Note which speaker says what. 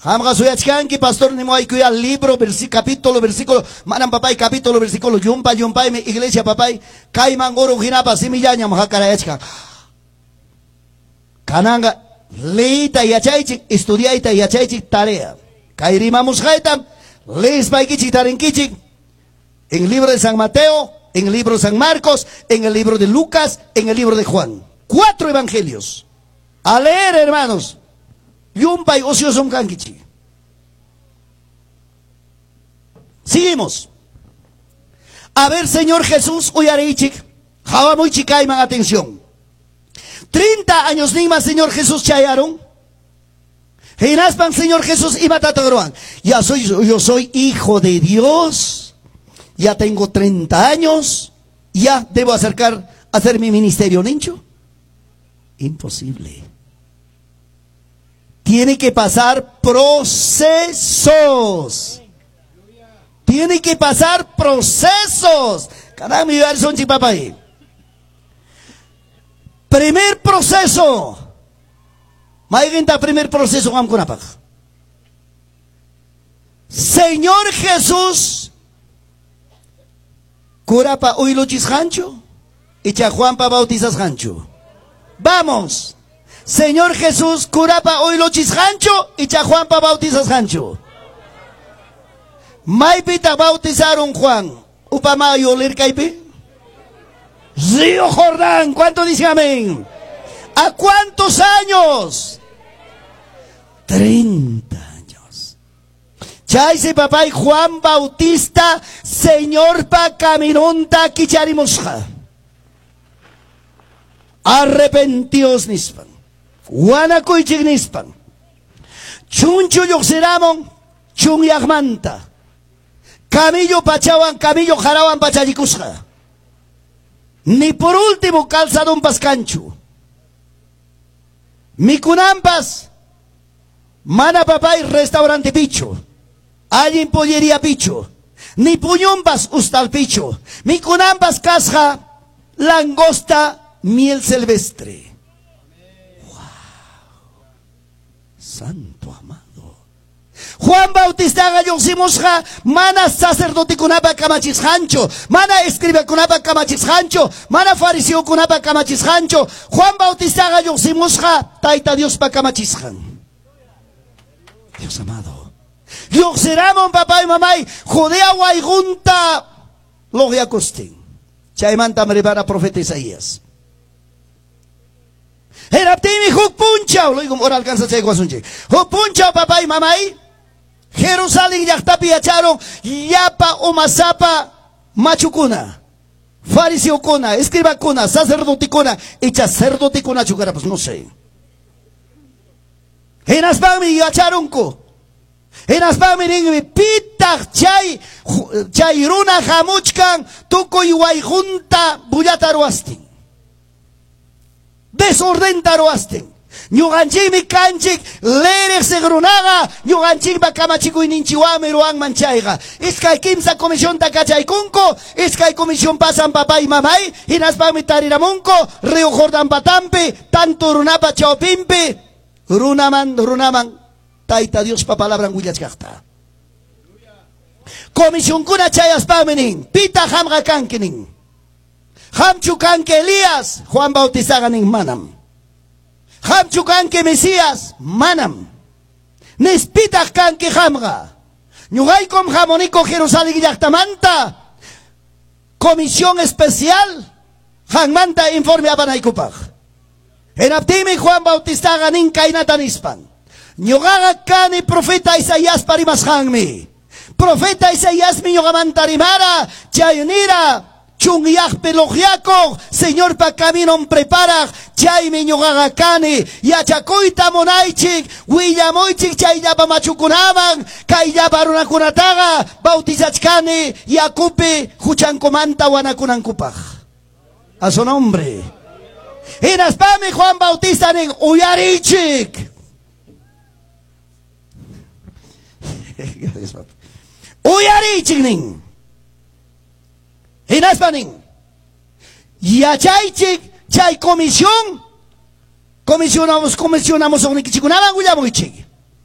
Speaker 1: Qamqa suyachkanki, pastor, nimuwaykuyá libro, capítulo, versículo. Manam, papay, capítulo, versículo. Llumpa llumpaymi iglesia, papay. Kayman urun hinapas simillañam hakarayachkan. Kananqa leeyta yachaychik, estudiayta yachaychik, tarea. Kay rimamusqaytam leespaykichik tarinkichik en libro de San Mateo, en el libro de San Marcos, en el libro de Lucas, en el libro de Juan. 4 evangelios. A leer, hermanos. Llumpay ociosum kankichik. Seguimos. A ver, Señor Jesús, uyariychik. Qawamuychik kayman, atención. 30 años nima Señor Jesús chayaron. Hinaspan Señor Jesús imatataq ruwan. Ya soy, yo soy hijo de Dios. Ya tengo 30 años. Ya debo acercar a hacer mi ministerio, nincho. Imposible. Tiene que pasar procesos. Tiene que pasar procesos. Caramba, mi papá. Primer proceso. Mayqinta primer proceso qamkunapaq. Señor Jesús curapa uyluchisqanchu icha Juanpa bautizasqanchu. Vamos. Señor Jesús curapa uyluchisqanchu icha Juanpa bautizasqanchu. Maypita bautizaron Juan. Upamayo lirkaypi. Río Jordán, ¿cuánto dice amén? ¿A cuántos años? 30 años. Chaysi papay Juan Bautista, Señor pa caminunta kicharimusqa. Arrepentios nispan. Wanakuychik nispan. Chunchu lluqsiramun chunyaqmanta. Camillo pachawan, camillo jarawan pachallikusqa. Ni por último calzadumpas kanchu. Mikunampas mana papay restaurante picho. Allin pollería picho. Ni puñumpas ustal picho. Mikunampas kasqa langosta miel silvestre. Wow. Santo amado. Juan Bautistaqa lluqsimusqa mana sacerdotekunapa kamachisqanchu, mana escribakunapa kamachisqanchu, mana fariseokunapa kamachisqanchu. Juan Bautistaqa lluqsimusqa Tayta Diospa kamachisqan. Dios amado. Lluqsiramun papá y mamay Judea wayqunta luqyakustin. Chaymantam rimara profeta Isaías. Hinaptinmi huk punchaw, luego ora alcanza chay wasunchik. Huk punchaw papá y mamay Jerusalén llaqtapi yacharon llapa umasapa machukuna, fariseokuna, escribakuna, sacerdotekuna, icha sacerdotekuna chukara, pues no sé. Hinaspanmi yacharunku. Hinaspanmi ninmi pitaq chay chay runa hamuchkan tukuy wayqunta bullata ruwastin. Desordenta ruwastin. Ñuqanchikmi kanchik leriqsiq runaqa ñuqanchikpa kamachikuyninchiwanmi ruwanman chayqa. Iskay kimsa comisionta kachaykunku, iskay comisión pasan papá y mamay, hinaspanmi tariramunku Río Jordán patampi, tanto runapa chawpinpi, runaman runaman Tayta Diospa palabran willachkaqta. Comisionkuna chayaspanmi nin, pita qamqa kanki nin. Qamchu kanki Elías, Juan Bautistaqa nin manam. Qamchu kanki Mesías, manam. Nispitaq kanki qamqa. Ñuqaykum hamuniku Jerusalén llaqtamanta. Comisión especial qanmanta informe apanaykupaq. Hinaptinmi Juan Bautistaqa nin kaynata nispan. Ñuqaqa kani profeta Isaíaspa rimasqanmi. Profeta Isaíasmi ñuqamanta rimara, chay nira chunyaqpi luqyakuq, Señorpa caminon preparaq, chaymi ñuqaqa kani, yachakuyta munaychik, willamuychik chay llapa machukunaman, kay llapa runakunataqa bautizachkani yakupi huchankumanta wanakunankupaq. A su nombre. Hinaspami Juan Bautista nin uyarichik. Uyarichik nin. Hinaspa nin. Yachaychik chay comisión, comisionamos, comisionamos uqnikichikunaman willamuychik.